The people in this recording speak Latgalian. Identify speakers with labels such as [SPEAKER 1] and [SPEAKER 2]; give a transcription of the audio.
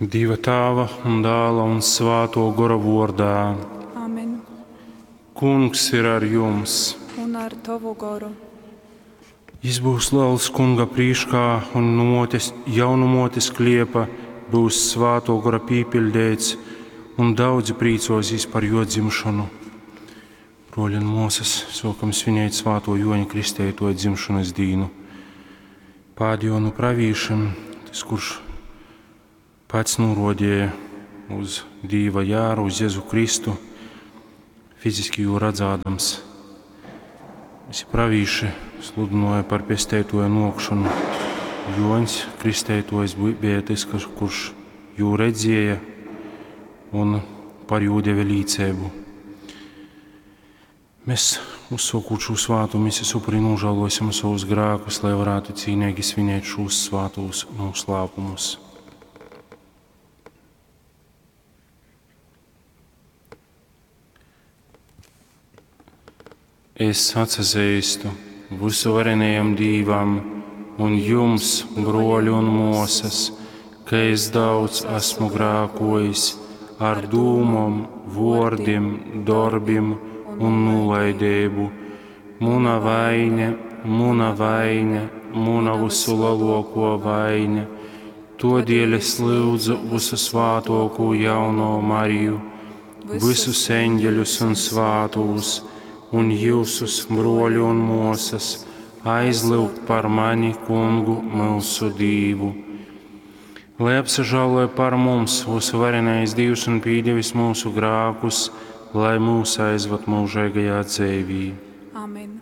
[SPEAKER 1] Dieva Tāva un Dāla un Svāto Gora vordā.
[SPEAKER 2] Amen.
[SPEAKER 1] Kungs ir ar jums.
[SPEAKER 2] Un ar tovu goru.
[SPEAKER 1] Jis būs liels kunga prīškā un nu motes, jau nu motes kliepa būs Svāto Gora pīpildēts, un daudzi prīcosīs par jo dzimšanu. Broļi un māsas, sākam svinēt Svāto Joņa Kristeitoja dzimšanas dīnu. Pēdējo nu pravīšiem, tas, kurš pats norodīja uz Dīva jāru, uz Jēzu Kristu, fiziski jū redzādams. Visi pravīši sludināja par pestētoja nokšanu. Joņs Kristētojs bija tas, kurš jū redzēja un par jū deva līcību. Mēs, uzsākot šo svātu misijas upuri, nožēlosim savus grēkus, lai varētu cīnīgi svinēt šos svātos noslēpumus. Es atsazīstu visuvarenajam Dīvam un jums, broļi un mosas, ka es daudz esmu grēkojis ar dūmom, vārdiem, darbiem un nolaidību. Muna vaine, muna vaine, muna visu lielāko vaine. Todēļ es lūdzu visu svātoko jauno Mariju, visus eņģeļus un svātos, un jūsus broļu un mosas, aizlūgt par mani, kungu, mūsu Dīvu. Lai apsažāloja par mums visvarenais Dievs un pīdevis mūsu grākus, lai mūs aizvad mūžīgajā dzīvī.
[SPEAKER 2] Amen.